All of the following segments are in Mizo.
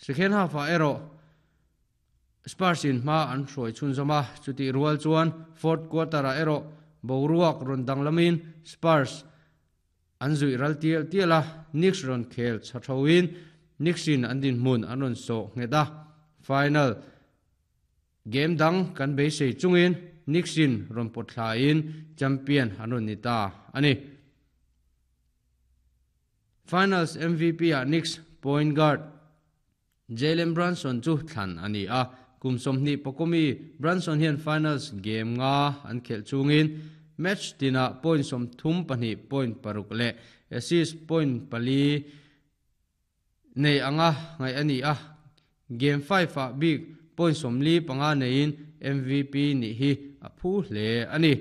Second half-ah erawh Spurs in hma an hruai chhunzawm a, chutih rual chuan fourth quarter-ah erawh boruak rawn danglamin Spurs an zuih ral tial tial a, Knicks rawn khel chha thoin Knicks in an dinhmun an rawn sawh nghet a, final game dang kan beisei chungin Knicks in rawn pawt thlain champion an rawn ni ta a ni. Finals MVP-ah Knicks point guard Jalen Brunson chu thlan a ni a, kum 20 pakawmi Brunson hian finals game nga an khelh chungin match tinah point 32 point paruk leh assist point pali nei anga ngaih a ni a, game 5-ah bik point 45 neiin MVP nih hi a phu hle a ni.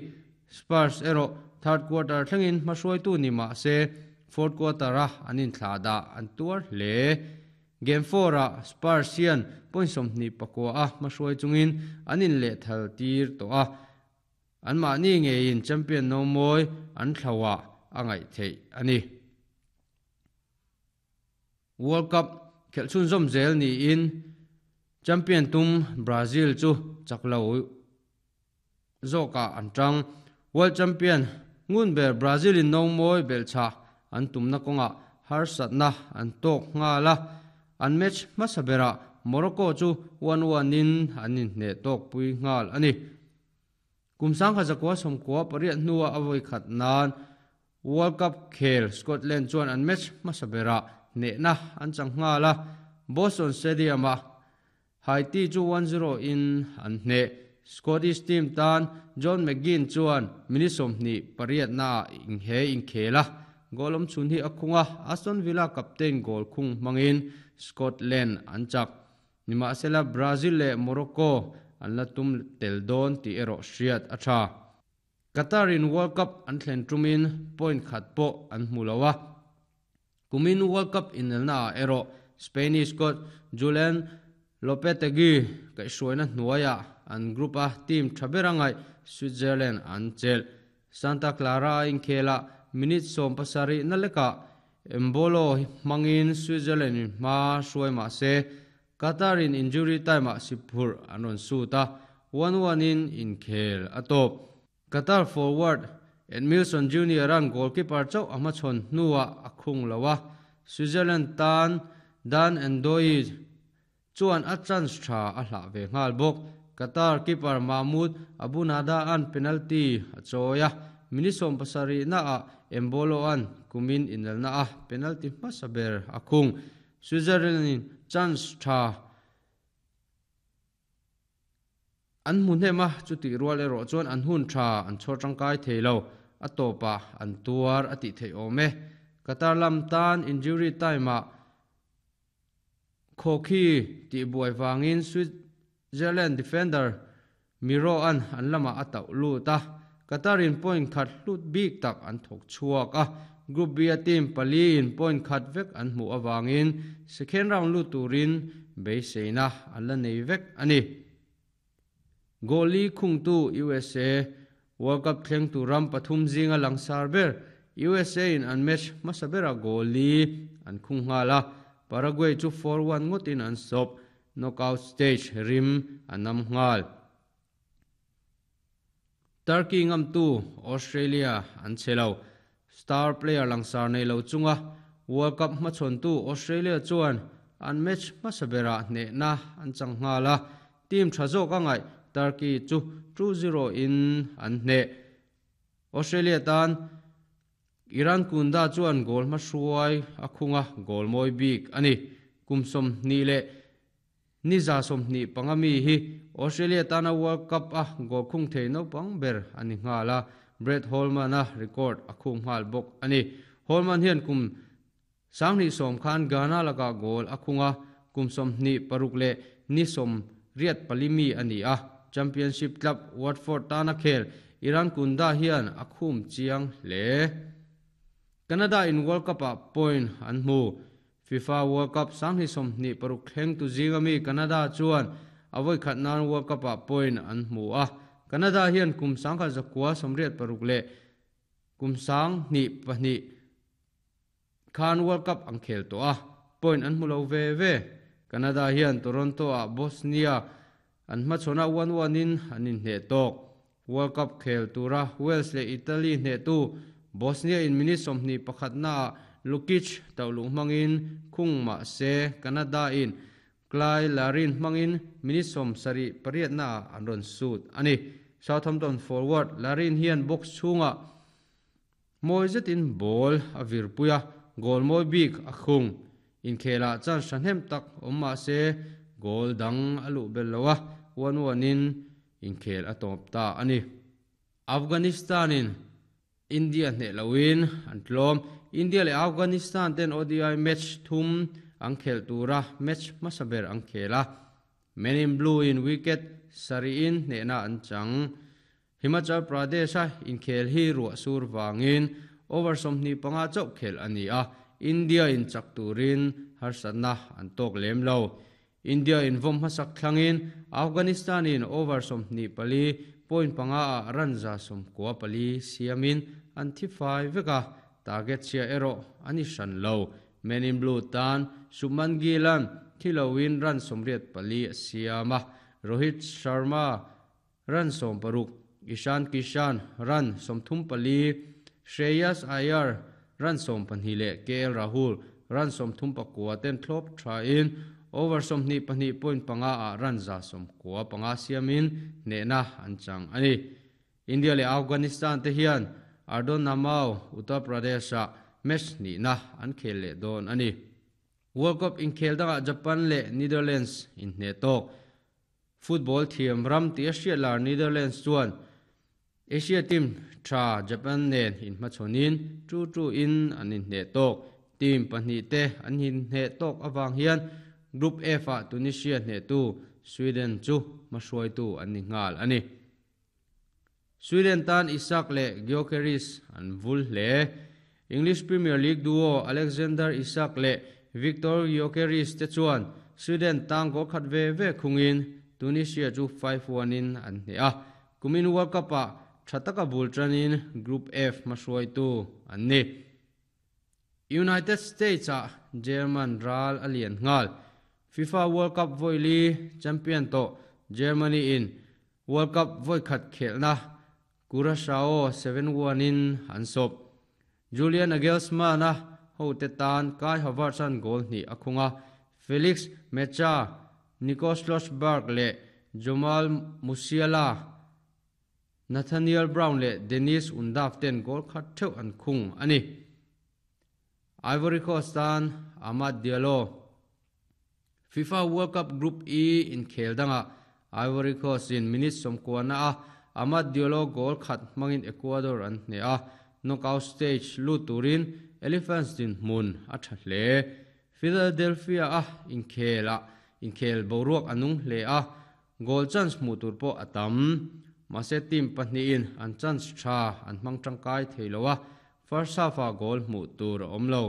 Spurs erawh third quarter thlengin hmahruaitu ni mah se fourth quarter-a an inthlah dah an tuar hle. Game 4-ah Spurs hian point 29 a hmahruai chungin an inlehthal tir tawh a, anmahni ngeiin champion no mawi an thlauhah a ngaih theih a ni. World Cup khelh chhunzawm zel niin champion tum Brazil chu chak lo zawkah an tang. World champion ngun ber Brazil in no mawi belhchhah an tumna kawngah harsatna an tawk nghal a, an match hmasa berah Morocco chu 1-1 in an inhneh tawk pui nghal a ni. Kum 1998 hnuah a vawi khat nan World Cup khel Scotland chuan an match hmasa berah hnehna an chang nghal a, Boston Stadium-ah Haiti chu 1-0 in an hneh. Scottish team tan John McGinn chuan minute 28 naah he inkhel a, goal awm chhun hi a khung a, Aston Villa captain goal khung hmangin Scotland an chak. Nimahsela Brazil leh Morocco an la tum tel dawn tih erawh hriat a tha. Qatar in World Cup an thlen tumin point khat pawh an hmu lo a. Kumin World Cup inelnaah erawh Spanish coach Julen Lopetegui kaihhruaina hnuaiah an group a team tha ber a ngaih Switzerland an chelh. Santa Clara a inkhelah minute 17 na lekah Embolo hmangin Switzerland in hma hruai mah se Qatar in injury time-ah siphurh an rawn sut a, 1-1 in inkhel a tawp. Qatar forward Edmilson Junior-a'n goalkeeper chauh a hmachhawn hnuah a khung lo a, Switzerland tan Dan Ndoye chuan a chance tha a hlah ve nghal bawk. Qatar keeper Mahmoud Abu Nada-a'n penalty a chawi a, minute 70 naah Embolo-a'n kumin inelna a penalty hmasa ber a khung. Switzerland-in chance tha an hmu hnem a, chutih rual erawh chuan an hun tha an chhawr tangkai thei lo, a tawpah an tuar a tih theih awm e. Qatar lam tan injury time-ah Khawkhi tih buai vangin Switzerland defender Miro an an lamah a tauh lut a, Qatar in point khat hlut bik tak an thawk chhuak a, Group B a team pali in point khat vek an hmuh awangin second round lut turin beiseina an la nei vek a ni. Goal li khungtu USA World Cup thleng tur ram pathum zinga langsar ber USA in an match hmasa bera goal li an khung nghal a, Paraguay chu 4-1 ngawtin an sawp, knockout stage rim a nam nghal. Turkey ngamtu Australia an che lo. Star player langsar nei lo chunga World Cup hmachhawntu Australia chuan an match hmasa berah hnehna an chang nghal a, team tha zawk a ngaih Turkey chu 2-0 in an hneh. Australia tan Iran Kunda chuan goal hmahruai a khung a, goal mawi bik a ni. Kum 20 leh ni za 25 mi hi Australia tana World Cup a goal khung thei naupang ber a ni nghal a, Brett Holman a record a khung nghal bawk a ni. Holman hian kum 2010 khan Ghana lakah goal a khung a, kum 26 leh ni 84 mi a ni a. Championship club Watford tana khel Iran Kunda hian a khum chiang hle. Canada in World Cup-ah point an hmu. FIFA World Cup 2026 thleng tu zinga mi Canada chuan a vawi khat nan World Cup-ah point an hmu a. Canada hian kum 1986 leh kum 2002 khan World Cup an khel tawh a, point an hmu lo ve ve. Canada hian Toronto-ah Bosnia an hmachhawn a, 1-1 in an inhneh tawk. World Cup khel tura Wales leh Italy hnehtu Bosnia in minute 21 naah Lukic tauhluh hmangin khung mah se Canada in Cyle Larin hmangin minute 78 naah an rawn sut a ni. Southampton forward Larin hian box chhungah mawi zetin ball a virpui a, goal mawi bik a khung. Inkhelah chance hnem tak awm mah se goal dang a luh bel lo a, 1-1 in inkhel a tawp ta a ni. Afghanistan in India hneh loin an tlawm. India leh Afghanistan ten ODI match thum an khel tura match hmasa ber an khel a. Men in Blue in wicket sarihin hnehna an chang. Himachal Pradesh a inkhel hi ruah sur wangin over 25 chauh khel a ni a. India in chak turin harsatna an tawk lem lo. India in vom hmasak thlangin Afghanistan in over 24.5 a run 194 siamin an thi fai veka target chia erawh ani hran lo. Men in Blue tan Shubman Gill-an thilowin run 84 siama Rohit Sharma run 60, Ishan Kishan run 34, Shreyas Iyer run 12 leh KL Rahul run 39 ten thlawp tha in over 22.5 a run 195 siamin hnehna an chang ani. India leh Afghanistan te hian Ardon Namau Uttar Pradesh a match ni na an khel leh dawn ani. World Cup inkhel dangah Japan leh Netherlands in hne tawk. Football thiam ram ti a hriat lar Netherlands chuan Asia team tha Japan nen in hmachhawnin 2-2 in an inhneh tawk. Team pahnih te an inhneh tawk awang hian Group F ah Tunisia hnehtu Sweden chu hmahruaitu an ni nghal ani. Sweden tan Isak leh Gyökeres an vul hle. English Premier League duo Alexander Isak leh Victor Gyökeres te chuan Sweden tang goal khat ve ve khungin Tunisia chu 5-1 in an hne a. Kumin World Cup ah thataka bul tanin Group F hmahruaitu an ni. United States ah German ral a lian ngal. FIFA World Cup voili champion to Germany in World Cup voi khat khelna Curacao 7-1 in an sop. Julian Nagelsmann a ho te tan Kai Havertz an goal ni a khunga Felix Nmecha, Nico Schlotterbeck leh Jamal Musiala, Nathaniel Brown leh Dennis Undav ten goal khat theuh an khung ani. Ivory Coast tan Amad Diallo. FIFA World Cup Group E in khel danga Ivory Coast in minute 90 na a Amad Diallo goal khat hmangin Ecuador an hne a. Knockout stage lu turin Elephants din hmun a tha hle. Philadelphia a inkhel a inkhel boruak anung hle a goal chance hmu tur pawh a tam. Mahse team pahnih in an chance tha an hmang tangkai thei lo a first half a goal hmu tur a awm lo.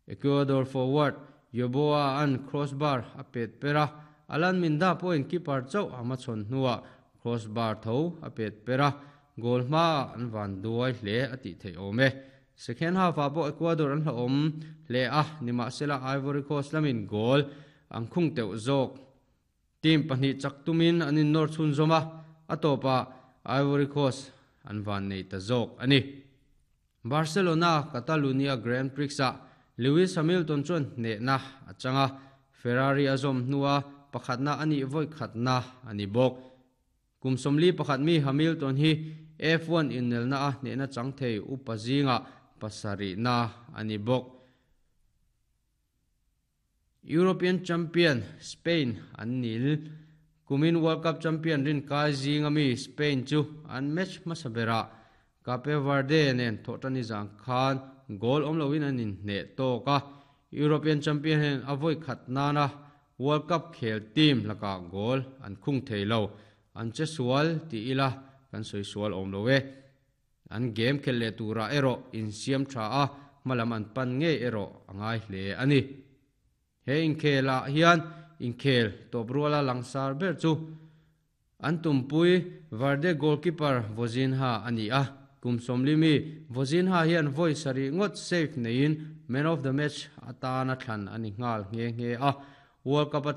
Ecuador forward Yoboa an crossbar a pet pera Alan Minda pawhin keeper chauh ama chhawn hnuah crossbar tho a pet pera goal hma an van duai hle a tih theih awm e. Second half ah pawh Ecuador an hla awm hle a nimahsela Ivory Coast lamin goal an khung teuh zawk. Team pahnih chak tumin an in nawr chhun zawm a, a tawpah Ivory Coast an van nei ta zawk ani. Barcelona Catalonia Grand Prix ah Lewis Hamilton chuan hnehna a changa Ferrari a zawm hnua pakhatna ani voi khatna ani bawk. Kum 41 mi Hamilton hi F1 inelna a hnehna chang thei upa zinga 7 na ani bawk. European Champion Spain an nil. Kumin World Cup Champion rin kai zinga mi Spain chu an match hmasa bera Cape Verde nen thawhtani zang khan goal awm loin an inhneh tawk a. European Champion hen a voi khat nana World Cup khel team laka goal an khung thei lo. An che sual ti ila kan soi sual awm lo e. An game khel leh tura erawh in siam tha a hmalam an pan ngei erawh a ngai hle ani. He inkhel ah hian inkhel tawp ruala langsar ber chu an tumpui Verde goalkeeper Vozinha ani a. Kum 40 mi Vozinha hian voi sari ngot save neiin man of the match atana thlan ani ngal nge nge a. World Cup-a.